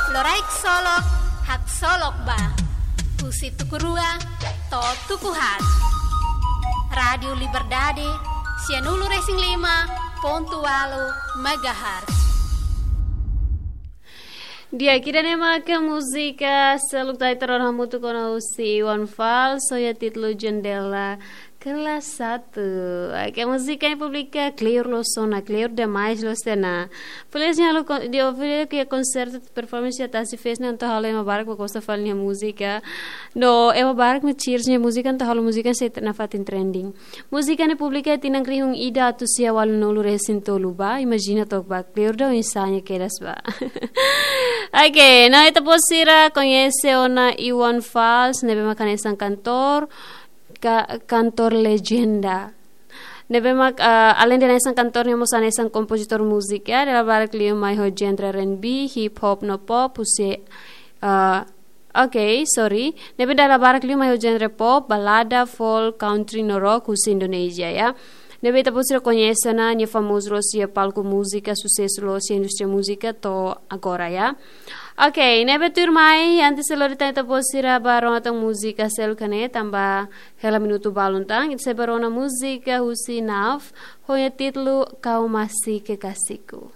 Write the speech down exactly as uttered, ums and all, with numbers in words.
Loraik solok, haksolok ba. Husi tuku rua to'o tuku haat. Rádiu Liberdade, sianulu-resin-lima pontu ualu megahertz. Di'ak, ida-ne'e mak múzika seluk ita rona hamutuk ona husi Iwan Fals, ho nia títulu Jendela Kelas Satu. Oke, múzika ne'e publika kleur loos ona, kleur demais loos tiha ona. Feliz nia halo kon-, nia halo konsertu performance iha Tasi Fest ne'e, entaun halo ema barak mak gosta fali nia múzika. No ema barak mak cheers nia múzika, entaun halo múzika sei nafatin trending. Múzika ne'e publika iha tinan rihun ida atus sia ualunulu-resin-tolu ba, imajina took ba, kleur daudaun hanesan ne'e kedas ba. Oke, no ita-boot sira koñese ona Iwan Fals, ne'ebé mak hanesan kantór, ka-, kantór lejenda. Ne'ebé mak, ah, aleinde hanesan kantór, nia mós hanesan kompozitór múzika, dala barak liu mai ho genre R and B, hip hop no pop, husi, ah, oke, sorry. Ne'ebé dala barak liu mai ho genre pop, balada, folk, country no rock husi Indonézia, ya. Ne'ebé ita-boot sira koñese ona, nia famozu loos iha palku múzika, susesu loos iha indústria múzika to'o agora, ya. Oke, ne'ebé tuirmai, antes de lori tan ita-boot sira ba rona tan múzika seluk ne'e, tanba hela minutu balun tan, ita sei ba rona múzika husi Nav, ho nia títulu Kau Masih Kekasihku.